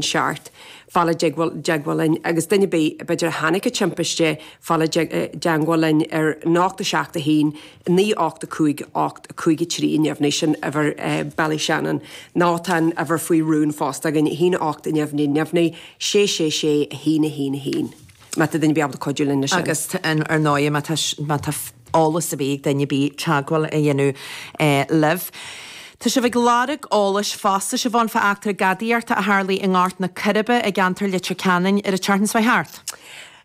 7, fáil i dteagmháil linn agus duine ar bith, b'fhéidir, a chonaic an timpiste, fáil i dteagmháil linn ar 8 7 1 9 8 5 8 5 3 neamhní, sin uimhir Ballyshannon. Nó tá an uimhir faoi rún fosta againn, 1 8 neamhní neamhní 6 6 6 1 1 1. Má tá duine ar bith ábalta cuidiú linn leis sin. Agus ar ndóigh má tá má tá eolas ar bith ag duine ar bith teagmháil a dhéanamh libh. Tá sibh ag lorg eolais fosta Siobhán fá eachtra gadaíochta a tharlaigh i nGort na Coiribe i gceantar Leitir Ceanainn ar an tseachtain seo thart.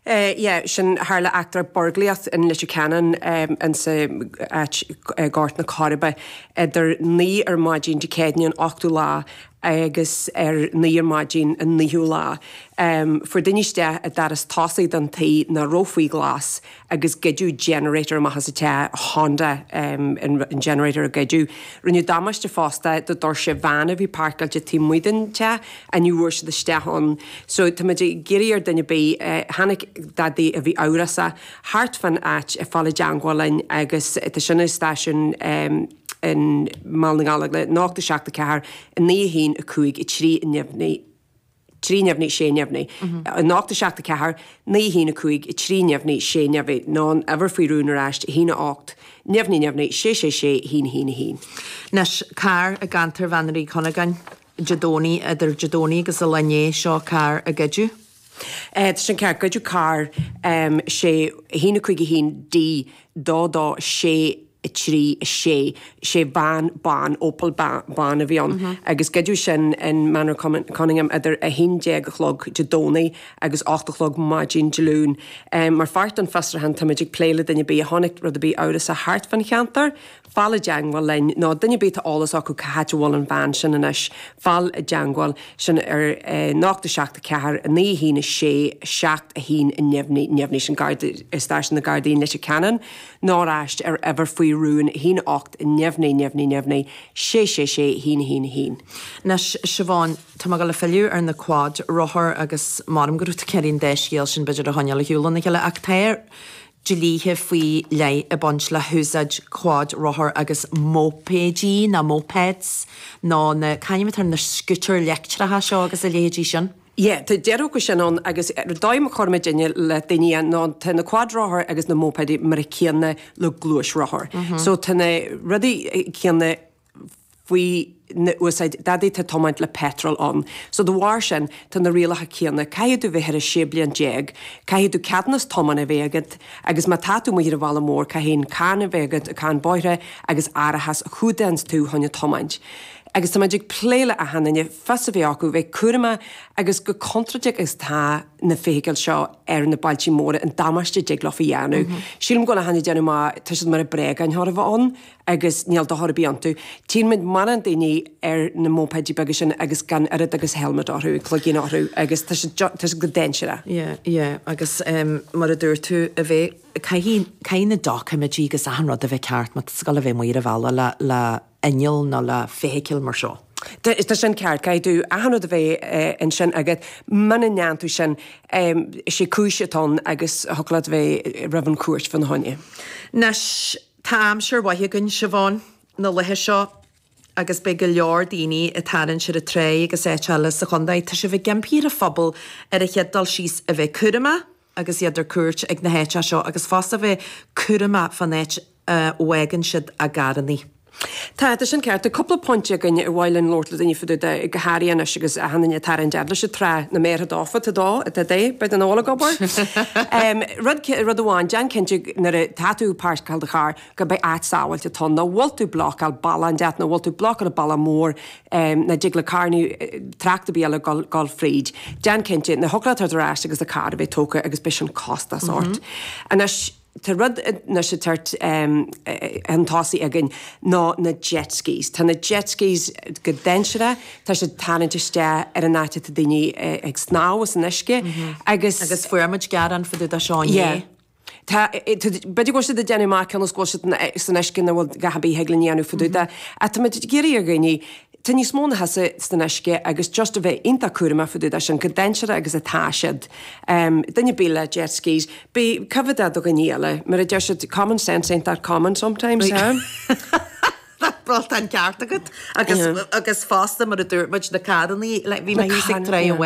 Yeah, sin, tharla eachtra burglaíocht in Leitir Ceanainn insa áit Gort na Coiribe idir 9 ar maidin Dé Céadaoine an 8ú lá agus ar 9 ar maidin an 9ú lá. Fuair daoine isteach i doras tosaigh den tigh nach raibh faoi ghlas agus goideadh generator amach as an teach, Honda an generator a goideadh. Rinneadh damáiste fosta do doirse veain a bhí páirceáilte taobh amuigh den teach ach ní bhfuair siad isteach ann. So tá muid ag iarraidh ar duine ar bith a chonaic dadaí a bhí amhrasach thart fán áit a fáil i dteangmháil linn agus tá sin i stáisiún in mBaile na nGallóglach 0 7 4 9 1 5 3 neamhní 3 neamhní 6 neamhní 0 7 4 9 1 5 3 neamhní 6 neamhní nó an uimhir faoi rún ar ais 1 8 neamhní neamhní 6 6 6 1 1 1. Anois, carr i gceantar Mhanaar Uí Chuinneagáin, Dé Domhnaigh, idir Dé Domhnaigh agus an lá inné seo, carr a goideadh. Tá sin ceart. Goideadh carr 6 1 5 1 D 2 2 6 3 6 sé veain bán, Opel bán a bhí ann agus goideadh sin in Maenor Conyngham idir 11 a chlog Dé Domhnaigh agus 8 a chlog maidin Dé Luain. Mar pháirt den fiosrúchán táimid ag plé le duine ar bith a chonaic rud ar bith amhrasach thart fán cheantar. Fáil i dteangmháil linn, nó duine ar bith atá eolas acu cá háit a bhfuil an veain sin anois, fáil i dteangmháil sin ar 0 7 4 9 1 6 7 1 neamhní, neamhní sin Garda, Stáisiún na Gardaí in Leitir Ceanainn, nó ar ais ar uimhir faoi rún 1 8 neamhní, neamhní, neamhní 6 6 6 1 1 1. Anois, Siobhán, tá mé ag dul a filleadh ar na quad rothair agus maram go raibh tú ag iarraidh an dá scéal sin b'fhéidir a choinneáil ar shiúl óna chéile ach tá dlíthe faoi leith ag baint le húsáid quad rothar agus móipéidí nó mopeds nó na, c'ainm atá ar na scútair leictreacha seo agus a leithéidí sin? Yeah, tá deireadh acu sin ann agus dóigh a chuir muidinne le daoine é ná tá na quad rothair agus na móipéidí mar a céanna le gluaisrothar. So tá na rudaí céanna faoi na úsáid dadaí atá ag tiomáint le petrol ann. So de bharr sin tá na rialacha céanna, caithfidh tú bheith thar 16 bliain, caithfidh tú ceadúnas tiomána a bheith agat agus má tá tú amuigh ar an bhaile mór caithfidh an cáin a bheith agat, cáin bóithre agus árachas a chumhdaíonns tú chun a tiomáint. Agus tá muid ag plé le achan duine fios a bheith acu, bheith cúramach agus chomh contúirteach agus atá na feithicil seo ar na bailtí móra, an damáiste a dtig leofa a dhéanamh. Sílim go bhfuil achan duine ag déanamh maith, tá siad mar bréagáin chóir a bheith ann. agus níl dochar ar bith iontu. Tchíonn muid mórán daoine ar na móipéidí beaga sin agus gan oiread agus helmet orthu, cloigín orthu agus tá siad, tá siad go dainséarach. Yeah, yeah, agus mar a dúirt tú, a bheith, caithfidh, caithfidh na doiciméidí agus achan rud a bheith ceart má tá tú ag dul a bheith amuigh ar an bhealach le, le inneall nó le feithicil mar seo. Tá sin ceart, caithfidh tú achan rud a bheith ansin agat. Muna ndéanann tú sin, is é cúis atá ann agus thiocfadh leat a bheith roimh an chúirt fána choinne. Anois, Tá aimsir mhaith againn, Siobhán, na laetha seo agus beidh go leor daoine ag tarraingt ar an tráigh agus áit eile sa chontae. Tá sibh ag impí ar an phobal ar an chéad dul síos a bheith cúramach agus iad ar cuairt ag na háiteacha seo agus fosta a bheith cúramach fán áit a bhfágann siad a gcarrannaí. Tá, tá sin ceart. Tá cúpla pointe againn ar mhaith linn labhairt le daoine fá dtaobh de, go háirithe anois agus achan duine ag tarraingt fhad leis an trá, na méartha dófa, tá dó, tá dé, beidh an ól ag obair. Rud, rud amháin, déan cinnte nuair atá tú ag páirceáil do charr go mbeidh áit sábháilte atá ann, nach bhfuil tú blocáil bealach inteacht, nach bhfuil tú blocáil an bealach mór, nach dtig le carrannaí, trácht ar bith eile gul, gul fríd. Déan cinnte, nach thiocfadh leat tabhairt ar ais agus do carr a bheith tógtha agus beidh sin costas ort. Anois, Tá rud anois ag tabhairt chun tosaigh againn ná na jet skis. Tá na jet skis go dainséarach, tá siad ag tarraingt isteach ar an áit atá daoine ag snámh san uisce agus. Agus fuair muid gearán fá dtaobh de seo inné. Yeah. Tá, b'fhéidir go bhfuil siad ag déanamh maith cionn is go bhfuil siad san uisce nach bhfuil a dhath ar bith a thig linn a dhéanamh fá dtaobh de. Ach tá muid ag iarraidh ar dhaoine Tá níos mó ná thusa san uisce agus just a bheith iontach cúramach fá dtaobh de sin, chomh dainséarach agus atá siad. Duine ar bith le jet skis, bí coimhéadach do dhaoine eile. Mar a deir siad, common sense ain't that common sometimes, huh? Bhuel, tá an ceart agat. Agus, agus fosta, mar a dúirt muid, na carrannaí, like, bhí mé thíos ag Tráigh an.